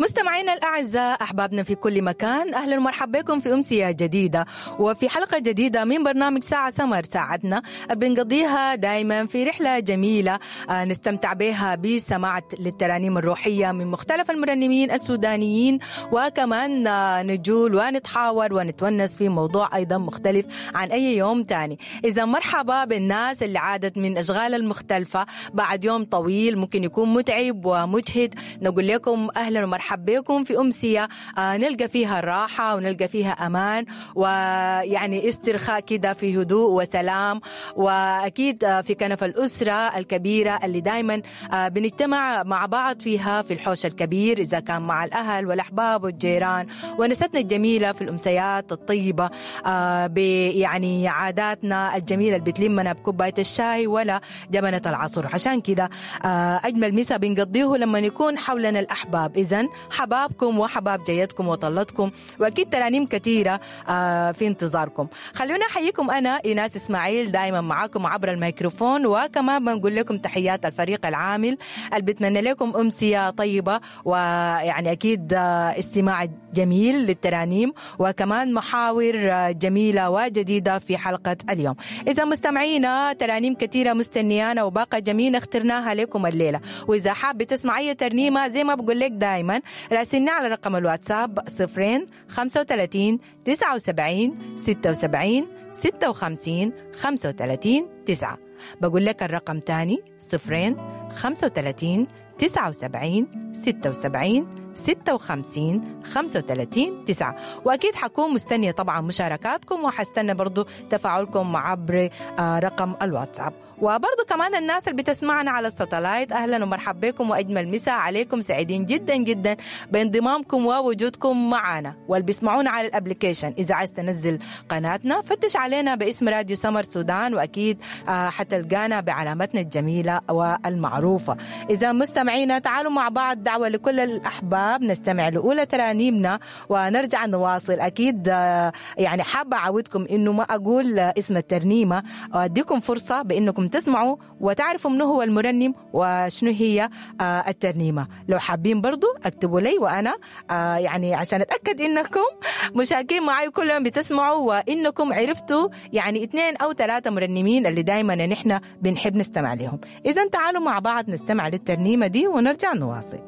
مستمعينا الأعزاء، أحبابنا في كل مكان، أهلا ومرحبا بكم في أمسية جديدة وفي حلقة جديدة من برنامج ساعة سمر. ساعتنا بنقضيها دائما في رحلة جميلة نستمتع بها بسماع للترانيم الروحية من مختلف المرنمين السودانيين، وكمان نجول ونتحاور ونتونس في موضوع أيضا مختلف عن أي يوم تاني. إذا مرحبا بالناس اللي عادت من أشغال المختلفة بعد يوم طويل ممكن يكون متعب ومجهد، نقول لكم أهلا ومرحبا بكم في أمسية نلقى فيها الراحة ونلقى فيها أمان ويعني استرخاء كده في هدوء وسلام، وأكيد في كنف الأسرة الكبيرة اللي دايما بنجتمع مع بعض فيها في الحوش الكبير، إذا كان مع الأهل والأحباب والجيران ونستنا الجميلة في الأمسيات الطيبة، يعني عاداتنا الجميلة اللي بتلمنا بكوباية الشاي ولا جبنة العصر. عشان كده أجمل مسا بنقضيه لما يكون حولنا الأحباب. إذن حبابكم وحباب جيتكم وطلتكم، وأكيد ترانيم كثيرة في انتظاركم. خلونا أحييكم، أنا إيناس إسماعيل دائما معاكم عبر الميكروفون، وكمان بنقول لكم تحيات الفريق العامل اللي بتمنى لكم أمسية طيبة، ويعني أكيد استماع جميل للترانيم وكمان محاور جميلة وجديدة في حلقة اليوم. إذا مستمعينا ترانيم كثيرة مستنيانا وباقة جميلة اخترناها لكم الليلة، وإذا حاب تسمع أي ترنيمة زي ما بقول لك دائما راسلنا على رقم الواتساب 0 35 79 76 56 35 9. بقول لك الرقم تاني 0 35 79 76 56 35 9. وأكيد حكون مستنية طبعا مشاركاتكم، وحستنى برضو تفاعلكم عبر رقم الواتساب. وبرضو كمان الناس اللي بتسمعنا على الساتلايت، أهلا ومرحبا بكم وأجمل مساء عليكم، سعيدين جدا جدا بانضمامكم ووجودكم معنا. واللي بيسمعونا على ال application، إذا عايز تنزل قناتنا فتش علينا باسم راديو سمر سودان، وأكيد حتلقانا بعلامتنا الجميلة والمعروفة. إذا مستمعينا تعالوا مع بعض، دعوة لكل الأحباب نستمع لأولى ترانيمنا ونرجع نواصل. أكيد يعني حابة أعودكم إنه ما أقول اسم الترنيمة، وأديكم فرصة بإنكم تسمعوا وتعرفوا منو هو المرنم وشنو هي الترنيمة. لو حابين برضو اكتبوا لي، وأنا يعني عشان أتأكد إنكم مشاركين معي كل يوم بتسمعوا وإنكم عرفتوا يعني 2 أو 3 مرنمين اللي دايما نحن بنحب نستمع لهم. إذا تعالوا مع بعض نستمع للترنيمة دي ونرجع نواصل.